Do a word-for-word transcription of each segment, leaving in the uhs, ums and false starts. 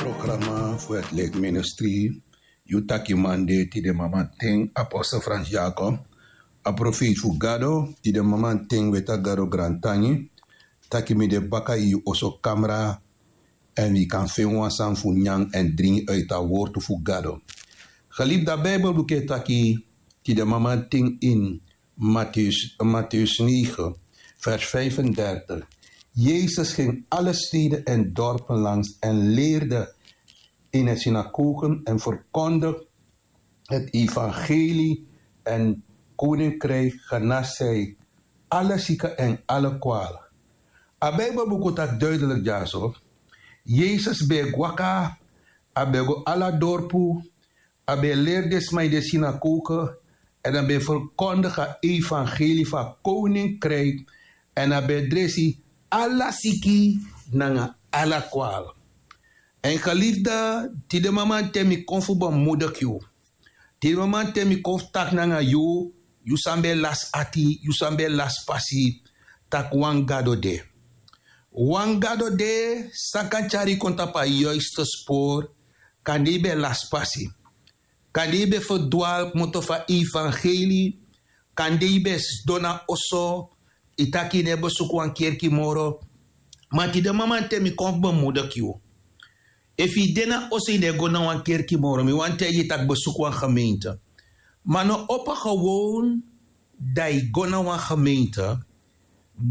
Programa fu het lik ministri. Yu taki mande tide mamanten apostel Frans Jacob, a profeiti fu Gado. Tide mamanten weta Gado grantangi taki mi de baka yu oso kamra, èn wi kan feni wan sani fu nyan èn dringi uiti a wortu fu Gado. Gelibi, da Bijbel buku e taki tide mamanten ini Matthäus, Matthäus negen, vers vijfendertig. Jezus ging alle steden en dorpen langs en leerde in de synagogen en verkondigde het evangelie en koninkrijk, genas hij alle zieken en alle kwalen. A Bijbel buku taki duidelijk dyaso. Jezus ben e waka, a ben e go ala dorpu, a ben e leri den sma ini den synagoge, èn a ben e verkondigde a evangelie fu a koninkrijk, èn a ben e dresi ala siki nanga ala kwal. Èn gelibi, tide mamanten mi kon fu bemoedig yu. Tide mamanten mi kon fu taki nanga yu, yu san ben e lasi ati, yu san ben e lasi pasi, taki wan Gado de. Wan Gado de san kan tyari yu kon tapu a juiste spoor. Kande yu ben e lasi pasi. Kande yu ben e ferdwali kmoto fu a evangelie. Kande yu ben e sidon na oso, yu taki yu no e besuku wan kerki moro. Ma tide mamanten mi kon fu bemoedig yu. Efu yu de na oso, yu no e go na wan kerki moro, mi wani taigi yu taki besuku wan gemeente. Ma no opo gewoon, da yu go na wan gemeente,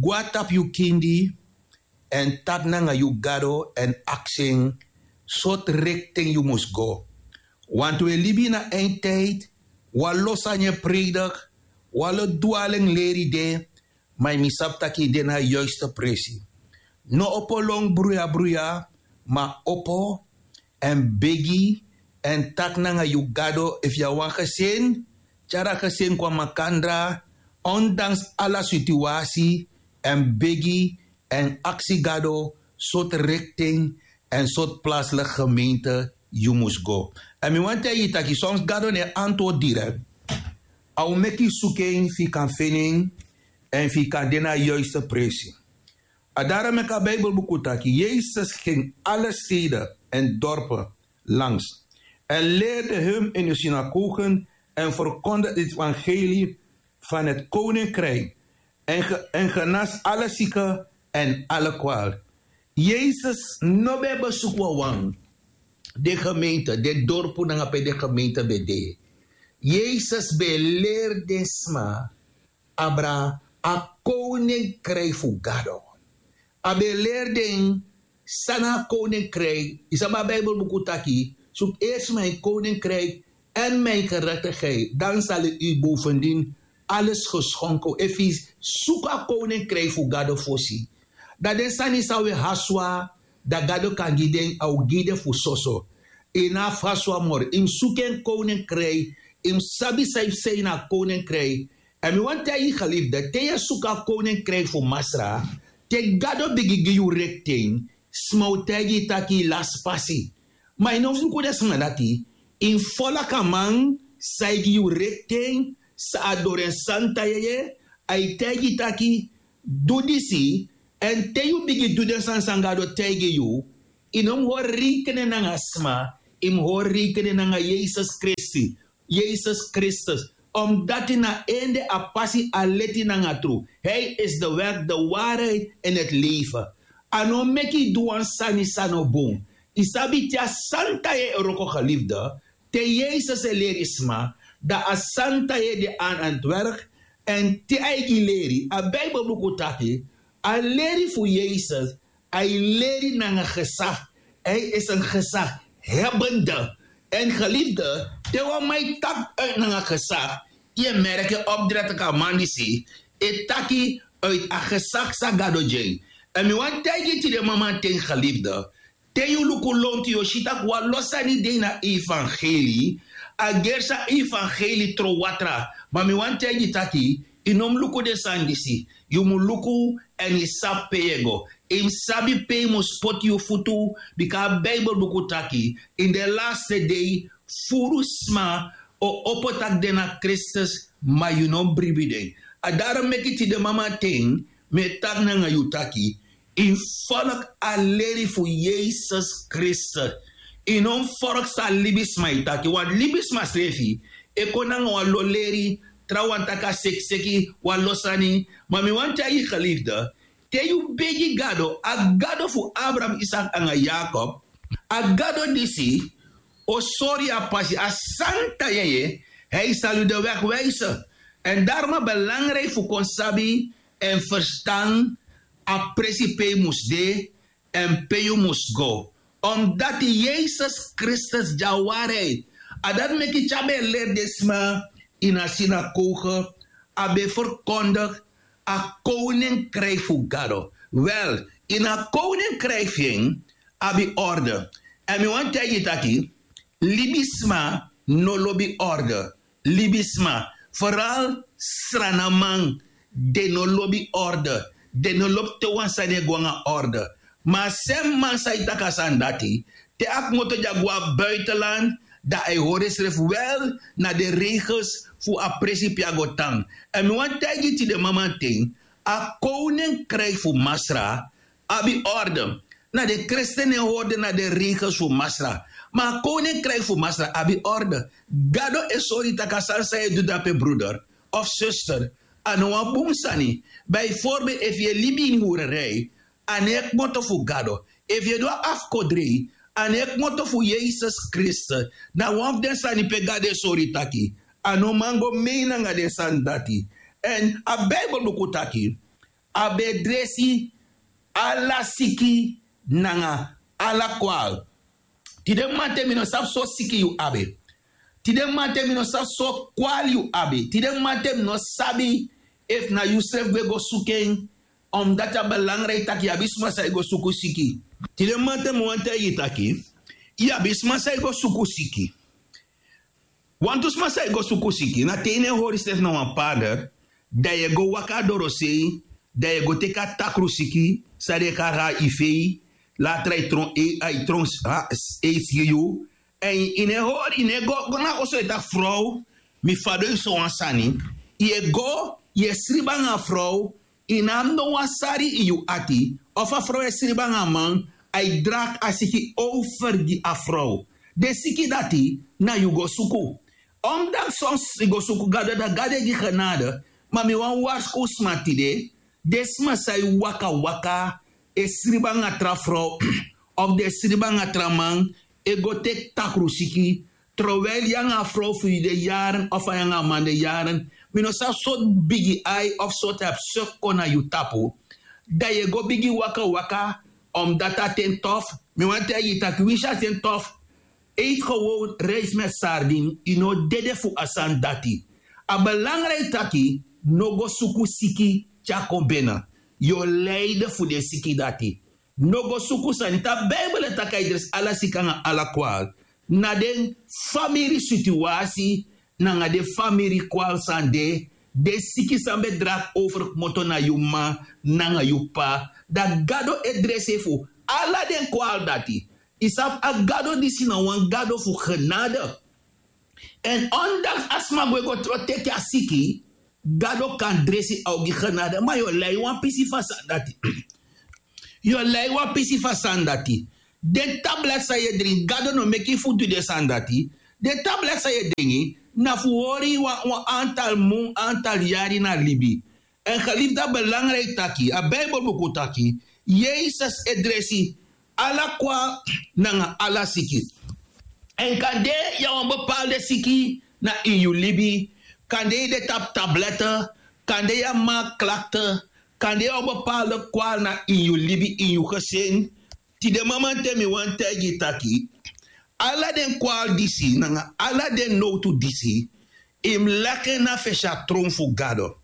go na tapu yu kindi, èn taki nanga yu Gado èn aksi en sortu richting yu mus go. Want wi e libi ini a eindtijd. Wan lo sani e prediki, wan lo dwaling leri de, ma yu mus sabi taki yu de na a juiste presi. No opo lon bruya bruya, ma opo èn begi èn taki nanga yu Gado. Efu yu abi wan gezin, tyari a gezin kon na makandra, ondanks ala situasi, èn begi èn aksi Gado sortu richting èn sortu plaatselijke gemeente yu mus go. Èn mi wani taigi yu taki soms Gado no e antwoord direct. A o meki yu suku en fu yu kan feni en èn fu yu kan de na a juiste presi. A dati meki a Bijbel buku taki Jezus ging alle steden en dorpen langs en leerde hun in de synagogen en verkondigde het evangelie van het koninkrijk en, ge- en genas alle zieken en alle kwaal. Jezus no ben e besuku wawan den gemeente, den dorpu nanga pe den gemeente ben de. Jezus ben e leri den sma abra a koninkrijk fu Gado. A ben e leri den san na a koninkrijk. Yu sabi a Bijbel buku taki: zoek eerst mijn koninkrijk en mijn gerechtigheid, dan zal u bovendien alles geschonken. Efu yu suku a koninkrijk fu Gado fosi, dan den sani san wi e haswa, dan Gado kan gi den, a o gi den fu soso. Yu no abi fu haswa moro. Yu mus suku en koninkrijk, yu mus sabi san yu psa ini a koninkrijk. Èn mi wani taigi yu geliefde, te yu e suku a koninkrijk fu Masra, te Gado bigin gi yu richting, sma o taigi yu taki yu lasi pasi. Ma yu no mus luku den sma dati. Yu mus folgu a man san e gi yu richting, san a doro en santa yeye, a e taigi yu taki du disi. Èn te yu bigin du den sani san Gado taigi yu, yu no mus hori rekening nanga sma, yu mus hori rekening nanga Yesus Kristus. Yesus Kristus. Omdati na en de a pasi, a leti nanga tru. Hij is de weg, de waarheid en het leven. A no meki yu du wan sani san no bun. Yu sabi, te a santa yeye e wroko, geliefde, te Yesus e leri sma, dan a santa yeye de aan het werk. Èn te a e gi leri, a Bijbel buku taki, a leri fu Yesus, a e leri nanga gezag. Hij is een gezaghebende. Èn geliefde, te wan man e taki uit nanga gezag, yu e merki en opdreti, a man disi e taki uit a gezag san Gado gi en. Èn mi wani taigi yu tide mamanten, geliefde, te yu luku lontu, yu o si taki wan lo sani de ini a evangelie. A gersi a evangelie tron watra. Ma mi wani taigi yu taki, yu no mus luku den sani disi. Yu mus luku èn yu sabi pe yu e go. Yu mus sabi pe yu mus poti yu futu. Bika a Bijbel buku taki, in den laste dei, furu sma o opo taki den na Kristus, ma yu no bribi den. A dati meki tide mamanten mi e taki nanga yu taki, yu mus folgu a leri fu Yesus Kristus. Yu no mus forksi a libisma e taki, wan libisma srefi e kon nanga wan lo leri, trawan taki a sekiseki, wan lo sani. Ma mi wani taigi yu gelifde, te yu begi Gado, a Gado fu Abraham, Isak nanga Yakob, a Gado disi o sori yu a pasi, a santa yeye, hij sali de wegwijse. Èn darma belangriki fu kon sabi èn ferstan a presi pe yu mus de èn pe yu mus go. Omdati Yesus Kristus de a wari. A dati meki te a ben e leri den sma ini a sinagoge, a ben e ferkondigi a koninkriki fu Gado. Wel, ini a koninkriki fu en abi orde. Èn mi wani taigi yu taki, libisma no lobi orde. Libisma, feral sranaman, den no lobi orde. Den no lobi te wan sani e go nanga orde. Ma a semi man san e taki a sani dati, te a kmoto dya go na buitenland, dan a e hori ensrefi wel na den regels fu a presi pe a go tan. Èn mi wani taigi yu tide mamanten, a koninkriki fu Masra abi orde. Na den kristen no e hori den, na den regels fu Masra. Ma a koninkriki fu Masra abi orde. Gado e sori yu taki a sani san yu e du drape, broeder of zuster, a no wan bun sani. Bijvoorbeeld efu yu e libi ini hurerei, a no e kmoto fu Gado. Efu yu e du a afkodrei, a no e kmoto fu Yesus Kristus. Na wan fu den sani pe Gado e sori yu taki a no man go mei nanga den sani dati. Èn a Bijbel buku taki a ben e dresi ala siki nanga ala kwal. Tide mamanten mi no sabi so siki yu abi. Tide mamanten mi no sabi so kwal yu abi. Tide mamanten mi no sabi efu na yusrefi gwe go suku en. Omdati a belangriki taki yu abi sma san e go suku siki. Tide mamanten mi wani taigi yu taki, yu abi sma san e go suku siki. Wantu sma san e go suku siki, na te yu no e hori srefi na wan pader, dan yu e go waka dorosei, dan yu e go teki a takru siki san den e kari a ifei. Latra yu tron ei, a yu tron, a, ei siki yu. Èn yu no e hori, yu no e go, go na oso e taki: frow, mi fadon yu sowan sani. Yu e go, yu e sribi nanga a frow, yu no abi no wan sari ini yu ati. Of a frow e sribi nanga a man, a e dragi a siki over gi a frow. Den siki dati na yu go suku. Omdati son siki go suku Gado, dan Gado e gi genade. Ma mi wani warskow sma tide, den sma san e waka waka e sribi nanga tra frow, of den e sribi nanga tra man, e go teki takru siki, terwijl yu nanga a frow fu yu de yaren, of a yu nanga a man de yaren, mi no sabi sortu bigi ai of sortu hebsuk kon na yu tapu, dan yu e go bigin waka waka. Omdati a ten tof, mi wani taigi yu taki winsi a ten tof, eet gewoon rijst met sardine, yu no dede fu a sani dati. A belangriki taki no go suku siki te a kon bene. Yu o lijden fu den siki dati. No go suku sani. Te a Bijbel e taki a e dresi ala siki nanga ala kwal, na den famiri situasi nanga den famiri kwal san de, den siki san ben dragi over kmoto na yu m'ma nanga yu p'pa, dan Gado e dresi en fu ala den kwal dati. Yu sabi, a Gado disi na wan Gado fu genade. Èn ondanks a sma gwe go tro teki a siki, Gado kan dresi, a o gi genade. Ma yu o lai wan pisi fu a sani dati. Yu o lai wan pisi fu a sani dati. Den tablet san yu e dringi, Gado no meki yu fu du den sani dati. Den tablet san yu e dringi na fu hori yu wan, wan antal mun, antal yari na libi. Èn geliefde, a belangrijk taki, a Bijbelbuku taki, Yesus e dresi ala kwal nanga ala siki. Èn kande yu abi wan bepaalde siki na ini yu libi, kande yu de tapu tablette, kande yu abi maagklachten, kande yu abi wan bepaalde kwal na ini yu libi, ini yu gezin. Tide mamanten mi wani taigi yu taki, ala den kwal disi nanga ala den nowtu disi, yu mus leki en na fesi a tron fu Gado.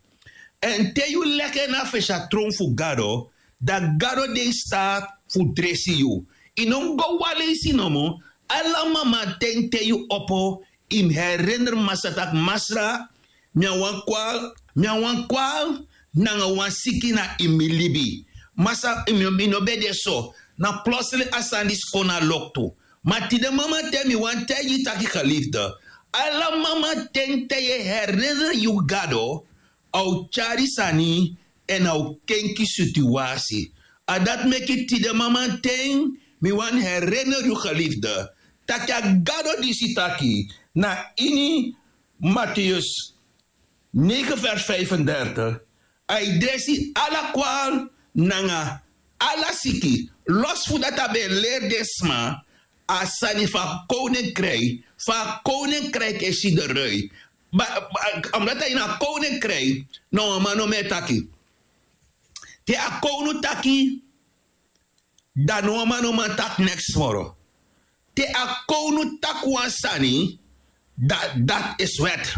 Èn te yu leki en na fesi a tron fu Gado, dan Gado de in staat fu dresi yu. Yu no mus go wan leisi nomo. Ala mamanten te yu opo, yu mus herinner Masra taki: Masra, mi abi wan kwal, mi abi wan kwal nanga wan siki na ini mi libi. Masra, mi, mi no ben de so. Na plotseling a sani disi kon na loktu. Ma tide mamanten mi wani taigi yu taki, geliefde, ala mamanten te yu e herinner yu Gado, a o tyari sani èn a o kenki situasi. A dati meki tide mamanten mi wani herinner yu, geliefde, taki a gado disi taki na ini Mateus negen vers vijfendertig, a e dresi ala kwal nanga ala siki. Los fu dati a ben e leri den sma a sani fu a koninkrijk, fu a koninkrijk e si de rui. Omdat a ini a koninkrijk, no wan man no man e taki. Te a kownu taki, dan no wan man no man taki neks moro. Te a kownu taki wan sani, dat dat is wet.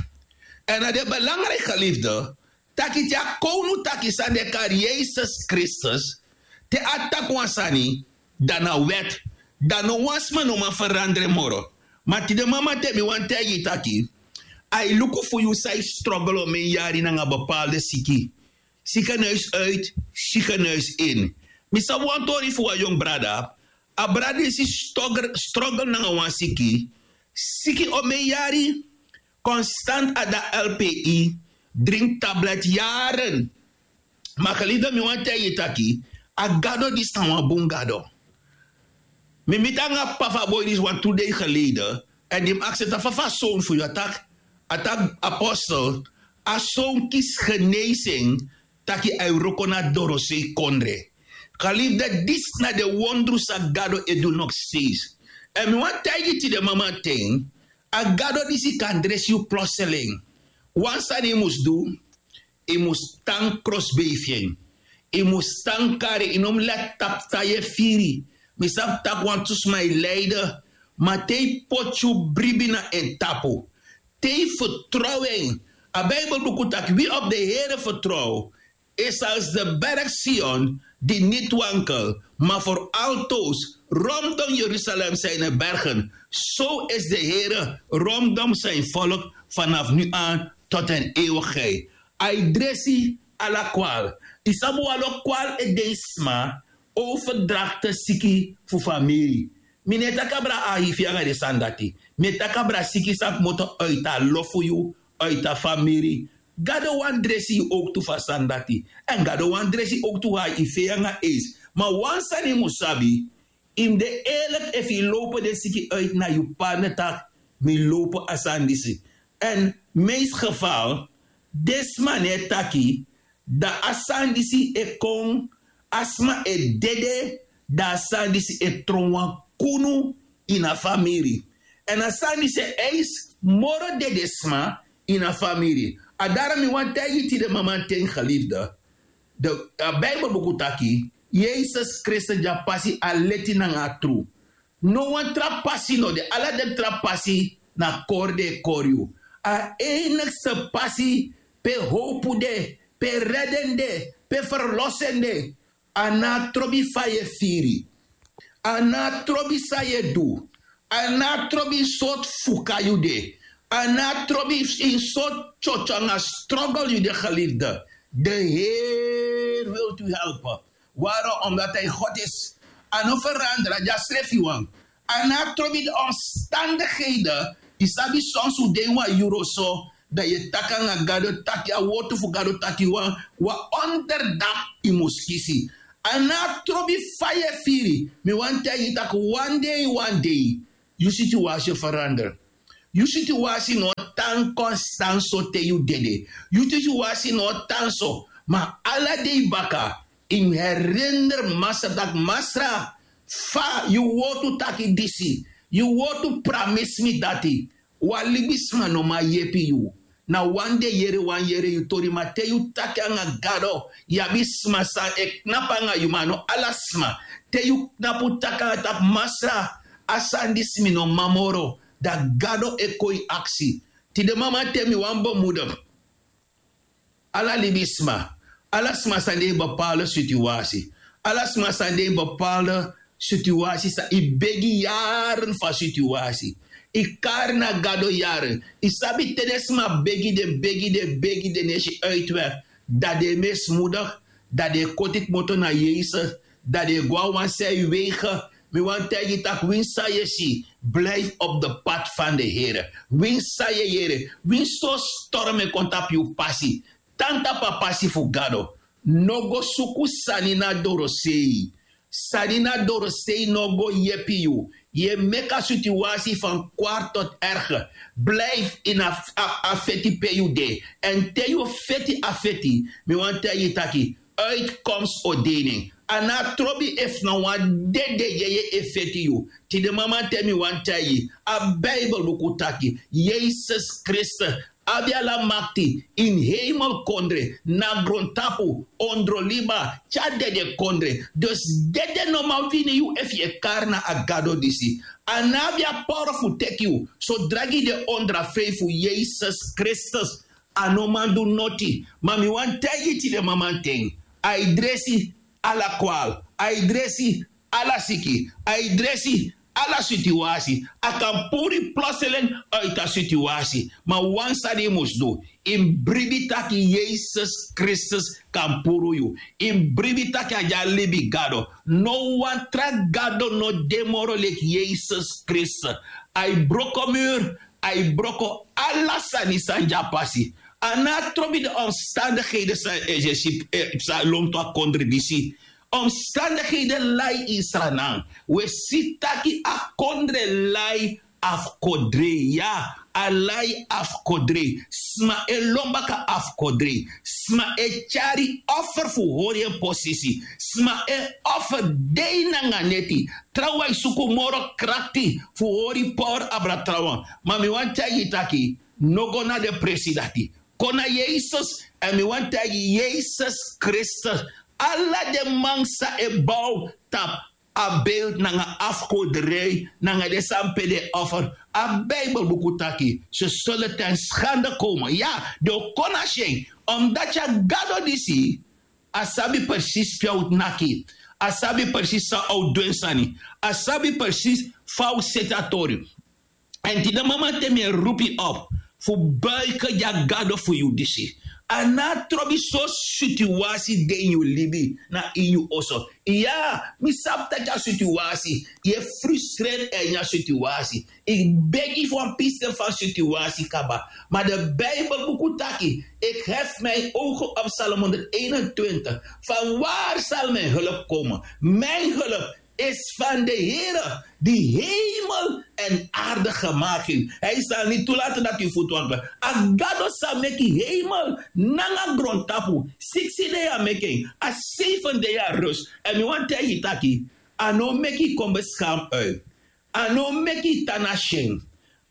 En na de belangrijk geliefde, taki te a kownu taki san de kari Yesus Kristus, te a taki wan sani, dan na wet. Dan no wan sma no man veranderen moro. Ma tide mama te mi wan taigi taki, a e luku fu yu san yu struggle o men yari nanga bepaalde siki. Ziekenhuis uit, ziekenhuis in. Mi sabi wan tori fu wan yong brada. A brada disi struggle nanga wan siki. Siki o men yari, konstant a da lpi, drink tablet yaren. Ma geliefde mi wan taigi taki, a gado disi na wan bun gado. Mi miti nanga papa fu a boi disi wan tu dei geleden. En di mi aksi en taki fa fa a son fu yu a taki, a taki apostel, a son kisi genezing, taki a e wroko na dorosei kondre. Geliefde disi na den wondru san gado e du noksteis. En mi wan taigi tide mama ten, a gado disi kan dresi yu plotseling. Wan sani yu mus du, yu mus tan krosbei fu en. Yu mus tan kari, yu no mus leki tapu san yu e firi. Mi sabi tak' wantu sma e lei de. Ma te yu poti yu bribi na en tapu, te yu fertrow en. A bijbelbuku taki wi op de here fertrow is als de berg Sion, di niti wankel, ma for altoos rondom Jerusalem zijn er bergen. Zo is de here rondom zijn volk vanaf nu aan tot in eeuwigheid. A e dresi ala kwal. Yu sabi wan lo kwal e de ini sma, overdrachte siki fu famiri. Mi no e taki abra a hifi anga den sani dati. Mi e taki abra siki san kmoto uiti a lo fu yu, uiti a famiri. Gado wani dresi yu owktu fu a sani dati. Èn gado wani dresi yu owktu fu a hifi anga eis. Ma wan sani yu mus sabi, yu mus de eerlik efu yu lowpu den siki uiti na yu partner taki, mi lowpu a sani disi. Èn meest geval, den sma no e taki, dan a sani disi e kon, a sma e dede, dan a sani disi e tron wan kunu ini a famiri. Èn a sani disi e eis moro dedesma ini a famiri. A dara mi wani taigi tide mamanten geliefde. De, a Bijbelbuku taki, Yesus Kristus di a pasi a leti nanga a tru. No wan tra pasi no de, ala den tra pasi na kori den e kori yu. A enigste pasi pe howpu de, pe redi en de, pe ferlosi en de, a no a trobi fa yu e firi. A no a trobi san yu e du. A no a trobi sortu fuka yu de. A no a trobi in sortu tyotyo nanga struggle yu de geliefde. De Heer wilt u helpen. Waarom? Omdat hij God is. A no ferandra, a de a srefi wan. A no a trobi de omstandigheden. Yu sabi soms un de ini wan yuru so, dan yu e taki nanga Gado taki, a wortu fu Gado taki wan, wan onderdak yu mus kisi. A no a trobi fa yu e firi. Mi wani taigi yu taki wan dei, wan dei, yu situasi o ferandra. Yu situasi no o tan konstan so te yu dede. Yu situasi no o tan so. Ma ala dei baka, yu mus herinner Masra taki, Masra, fa yu wortu taki disi, yu wortu pramisi mi dati. Wan libisma no man yepi yu. Na wan dei yere wan yere yu tori, ma te yu taki nanga Gado, yu abi sma san e knapu nanga yu, ma no ala sma. Te yu knapu taki nanga taki, Masra, a sani disi mi no man moro, dan Gado e kon yu aksi. Tide mamanten mi wani bemoedig ala libisma, ala sma san de ini bepaalde situasi, ala sma san de ini bepaalde situasi san yu begi yaren fu a situasi. Yu kari na Gado yaren. Yu sabi te den sma begi den, begi den, begi den, no e si uitweg, dan den e mismoedig, dan den e koti kmoto na Yesus, dan den e go na wan side wegen. Mi wani taigi yu taki winsi san yu e si, blijf op de pad van de Here. Winsi san yu e yere, winsi so storm e kon tapu yu pasi, tan tapu a pasi fu Gado. No go suku sani na dorosei. Sani na dorosei no go yepi yu. Yu e meki a situasi fan kwari tot erge. Blijfi ini a feti pe yu de. Èn te yu feti a feti, mi wani taigi yu taki, uitkomst o de ini en. A no a trobi efu na wan dede yeye e feti yu. Tide mamanten mi wani taigi yu, a Bijbelbuku taki Yesus Kristus abi ala makti ini hemelkondre, na grontapu, ondro liba, te a dedekondre. Dus dede no man wini yu efu yu e kari na a Gado disi. A no abi a power fu teki yu sodra gi de ondro a fei fu Yesus Kristus. A no man du noti. Ma mi wani taigi yu tide mamanten, a e dresi ala kwal, a e dresi ala siki, a e dresi ala situasi. A kan puru yu plotseling uit a situasi. Ma wan sani yu mus du, yu mus bribi taki Yesus Kristus kan puru yu. Yu mus bribi taki a de a libi Gado. No wan tra Gado no de moro leki Yesus Kristus. A e broko muru, a e broko ala sani san de a pasi. A no a trobi de omstandigheden san e si psa lontu a kondre disi. Omstandigheden lai ini Sranan. Wi e si taki a kondre lai afkodrei, ya, a lai afkodrei. Sma e lon baka afkodrei. Sma e tyari offer fu hori en posisi. Sma e offer dei nanga neti. Trawan e suku moro krakti fu hori power abra trawan. Ma mi wani taigi yu taki, no go na den presi dati. Kon na Yesus, èn mi wani taigi yu, Yesus Kristus, ala den man san e bow tapu a beeld nanga afkodrei nanga den sani pe den e offer, a Bijbelbuku taki, ze zullen ten schande komen. Ya, den o kon na syen. Omdati a Gado disi, a sabi presis pe a o naki. A sabi presis san a o du en sani. A sabi presis fa a o seti a tori. Èn tide mamanten mi e roepi op fu buiken gi a Gado fu yu disi. A no a trobi so situasi de ini yu libi, na ini yu oso. Ya, mi sabi taki a situasi, yu e frustreer ini a situasi. Yu begi fu wan pisten fu a situasi kaba. Ma de Bijbelbuku taki, ik hef mijn ogen op, Psalm honderdeenentwintig. Van waar zal mijn hulp komen? Mijn hulp is van de Here, die hemel en aarde gemaakt heeft. Hij zal niet toelaten dat u voet wankelt. A Gado san meki hemel nanga grontapu. Siksi dei a meki en, a seifenti dei a rus. Èn mi wani taigi yu taki, a no meki yu kon beskampu uit. A no meki yu tan na syen.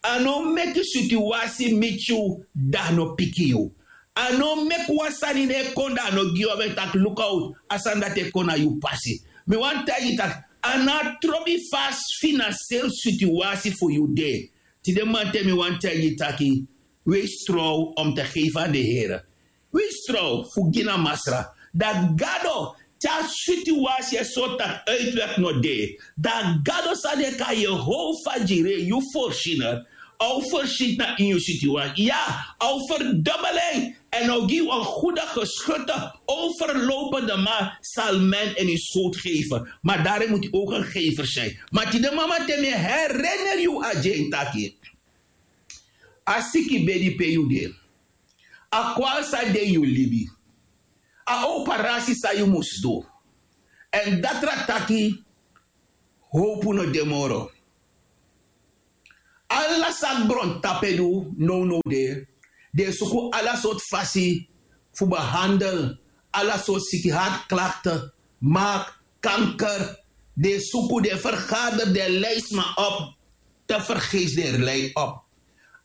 A no meki situasi miti yu, dan a no piki yu. A no meki wan sani no e kon, dan a no gi yu a ben taki luku out, a sani dati e kon na yu pasi. Mi wani taigi yu taki, a no a trobi fa a finansiyel situasi fu yu de. Tide mamanten mi wani taigi yu taki, wees trouw om te geven aan de Here. Wees trouw fu gi na Masra. Dan Gado, te a situasi e sori taki uitweg no de, dan Gado san den e kai Yehova Jire, yu voorziener, a o voorzien na ini yu situasi. Ya, a o verdubel en, èn a o gi yu een goede geschutte, overlopende maal zal men in uw schoot geven. Maar daarin moet u ook een gever zijn. Ma tide mamanten mi e herinner yu a dyen taki, a siki bedi pe yu de, a kwal san de ini yu libi, a operasi san yu mus du, èn datra taki, howpu no de moro. Ala san grontapu e du nownow de, den e suku ala sortu fasi fu behandel ala sortu siki, hartklachten, maag, kanker. Den e suku, den e vergader, den e lei sma op. Tevergeefs den e lei op.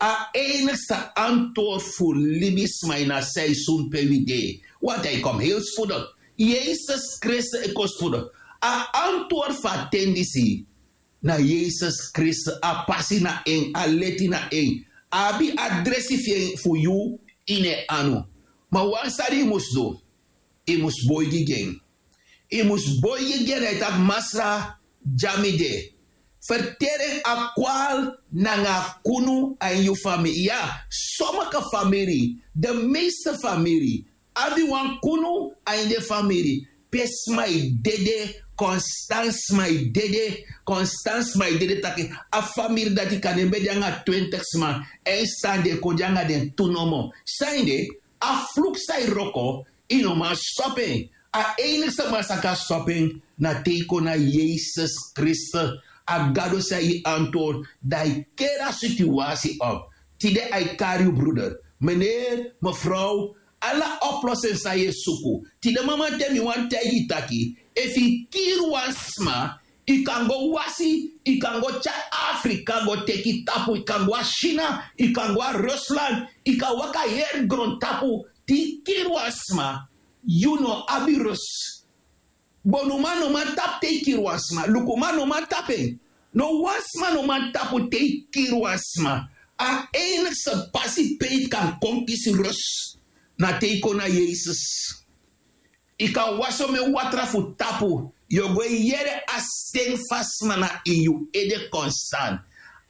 A enigste antwoord fu libisma ini a seizoen pe wi de, want hij komt heel spoedig. Yesus Kristus e kon spoedig. A antwoord fu a ten disi na Yesus Kristus. A pasi na en, a leti na en. A abi a dresi fu yu ini en anu. Ma wan sani yu mus du, yu mus boigi gi en. Yu mus boigi gi en, dan yu taki: Masra, dya mi de. Ferteri en a kwal nanga a kunu a ini yu famiri. Ya, sommige famiri, de meeste famiri, abi wan kunu a ini den famiri pe sma e dede, konstan sma e dede, konstan sma e dede. Taki a famiri dati kan de, ben de nanga twintig sma, èn san den e kon de nanga den tu nomo. San ede? A fluku san e wroko, yu no man stop en. A einigi sama san kan stopu en na te yu kon na Yesus Kristus. A Gado san yu antwoord, dan yu keri a situasi op. Tide a e kari yu bruder, meneer, mevrouw, ala oplossing san yu e suku. Tide mamanten mi wani taigi yu taki, efu yu kiri wan sma, yu kan go wasi, yu kan go tyari Afrika go teki tapu, yu kan go na China, yu kan go na Rusland, yu kan waka heri grontapu. Te yu kiri wan sma, yu no abi rus. Bonuman no man tapu te yu kiri wan sma. Lukuman no man tapu en. No wan sma no man tapu te yu kiri wan sma. A enigste pasi pe yu kan kon kisi rus na te yu kon na Yesus. Yu kan wasi omen watra fu tapu, yu o go e yere a sten fu a sma na ini yu ede konstan.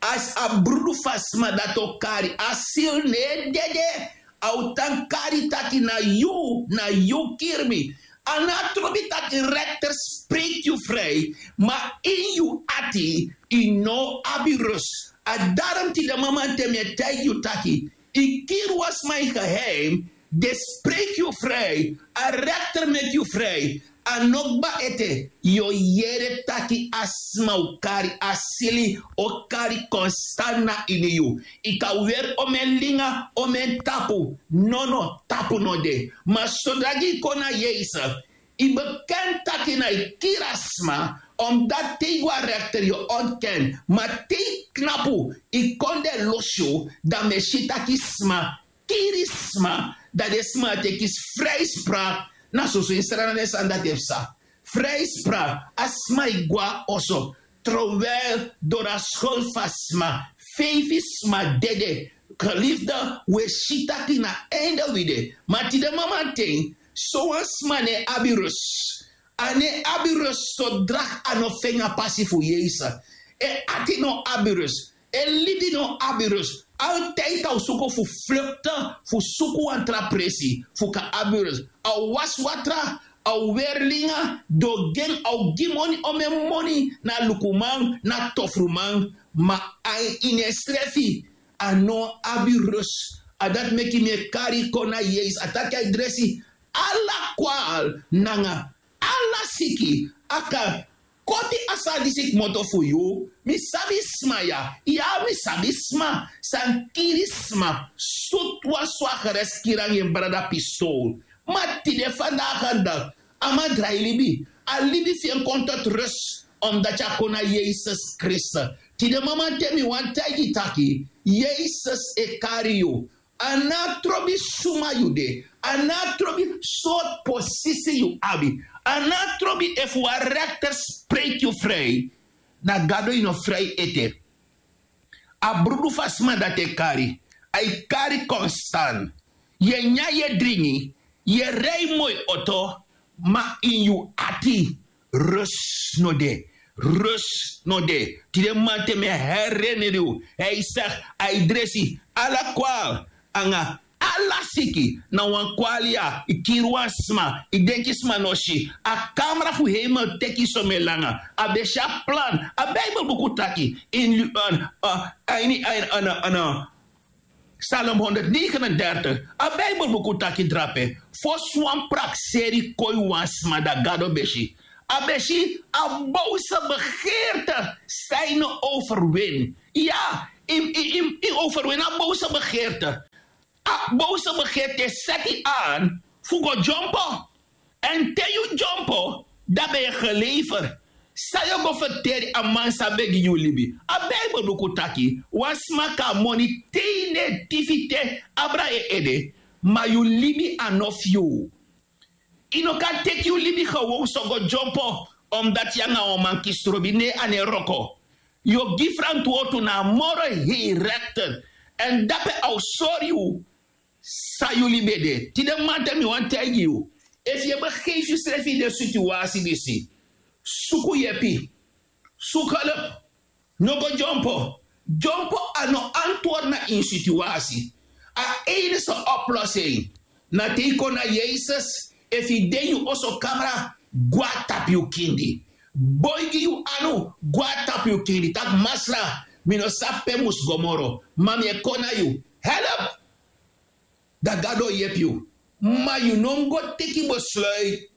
As a brudu fu a sma dati o kari, a sili no e dede. A o tan kari taki na yu, na yu kiri mi. A no abi trobi taki rekter spreki yu fri, ma ini yu ati yu no abi rus. A darom tide mamanten mi e taigi yu taki, yu kiri wan sma ini geheim, den spreki yu fri, a rekter meki yu fri. A no kba ete, yu o yere taki a sma o kari a sili, o kari konstan na ini yu. Yu kan weri omen linga, omen tapu, nono, tapu no de. Ma sodra gi yu kon na Yesus, yu bekenti taki na yu kiri a sma, omdat te yu go na rekter yu o ontken, ma te yu knapu, yu kondre losi yu, dan mi e si taki sma kiri sma, dan den sma e teki frijspraak. Na soso ini Sranan den sani dati e psa. Frijspraak, a sma e go na oso, terwijl doro a skuld fu a sma, feifi sma dede. Geliefde, wi e si taki na einde wi de. Ma tide mamanten, sowan sma no e abi rus. A no e abi rus sodra a no feni a pasi fu Yesus. En ati no abi rus. En libi no abi rus. Altijd a o suku fu flukte, fu suku wan tra presi fu kan abi rus. A o wasi watra, a o weri linga, den o gi en, a o gi moni, omen moni, na lukuman, na tofruman. Ma a ini ensrefi a no abi rus. A dati meki mi e kari yu kon na Yesus. A taki a e dresi ala kwal nanga ala siki. A kan koti a sani disi kmoto fu yu. Mi sabi sma ya, ya, mi sabi sma san kiri sma. Sutu wan swagres kiri nanga en brada pistol. Ma tide fandaga dati a man drai libi. A libi fu en kon tot rus, omdat yu kon na Yesus Kristus. Tide mamanten mi wani taigi yu taki, Yesus e kari yu. A no abi trobi suma yu de. A no abi trobi sortu posisi yu abi. A no abi trobi efu wan rekter spreki yu fri. Na Gado yu no fri ete. A brudu fu a sma dati e kari. A e kari konstan. Yu e nyan, yu e dringi, yu e rei moi oto, ma ini yu ati rus no de. Rus no de. Tide mamanten mi e herinneri yu, a e segi, a e dresi ala kwal nanga ala siki. Na wan kwali ya, yu kiri wan sma, yu denki sma no si. A kamra fu hemel teki yu somen langa. A ben si a plan. A Bijbelbuku taki ini, a, a, a ini, a ini, a ini, a ini, a ini Psalm honderdnegenendertig, a Bijbelbuku taki drape, fosi wan prakseri kon ini wan sma, dan Gado ben si. A ben si a boze begeerte san yu no overwin. Ya, yu, yu, yu, yu overwin a boze begeerte. A boze begeerte e seti yu aan fu go dyompo. Èn te yu dyompo, dan ben yu gelever. San yu o go ferteri a man san ben gi yu libi? A Bijbelbuku taki, wan sma kan moni te yu no e tifi te abra en ede, ma yu libi a no fu yu. Yu no kan teki yu libi gewoon so go dyompo, omdat yu nanga wan man kisi trobi, ne, a no e wroko. Yu o gi frantwortu na a moro hei rekter. Èn dape a o sori yu san yu libi e de. Tide mamanten mi wani taigi yu, efu yu e begefi yusrefi ini den situasi disi, suku yepi. Suku help. No go dyompo. Dyompo a no antwoord na ini situasi. A enigste oplossing na te yu kon na Yesus. Efu yu de ini yu oso kamra, go na tapu yu kindi. Boigi yu anu, go na tapu yu kindi, taki, Masra, mi no sabi pe mi musu go moro, ma mi e kon na yu. Help! Dan Gado o yepi yu. Ma yu no mus go teki besluit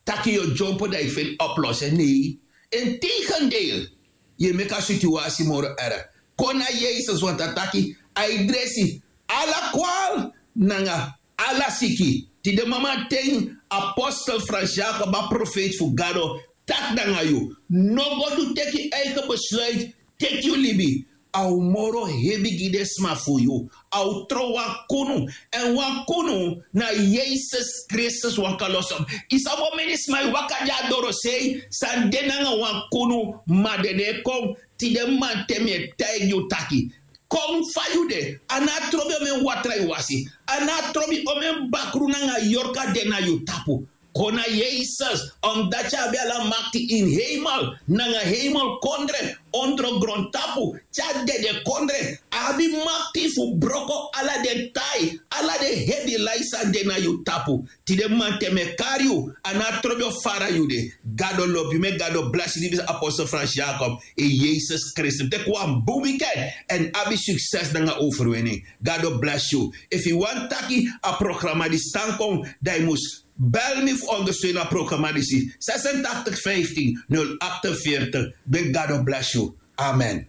taki yu o dyompo dan yu feni oplose nei. Integendeel, yu e meki a situasi moro erg. Kon na yesus want a taki a e dresi ala kwal nanga ala siki. Tide mamanten apostel fransiago ba profeiti fu gado taki nanga yu, no go du teki eigen besluit. Teki yu libi. A o moro hebi gi den sma fu yu. A o tron wan kunu. Èn wan kunu na yesus kristus waka loso. Yu sabi o meni sma e waka gi a dorosei san de nanga wan kunu. Ma den no e kon. Tide mamanten mi e taigi yu taki kon fa yu de. A no a trobi omen watra yu wasi. A no a trobi omen bakru nanga yorka de na yu tapu. Kon na yesus omdati a abi ala makti ini heimel nanga heimel kondre, ondro grontapu, te a dede kondre. A abi makti fu broko ala den tai, ala den hebi lai san de na yu tapu. Tide mamanten mi e kari yu. A no a trobi o fara yu de. Gado lobi yu meki gado blasi libisi apostel fransiago. In yesus kristus teki wan bun wiken èn abi sukses nanga overwini. Gado blasi yu. Efu yu wani taki a programa disi tan kon, dan yu mus bel mi fu ondersteun a programa disi. Sesentachtig vijftien nul achtenveertig. Meki gado blasi yu. Amen.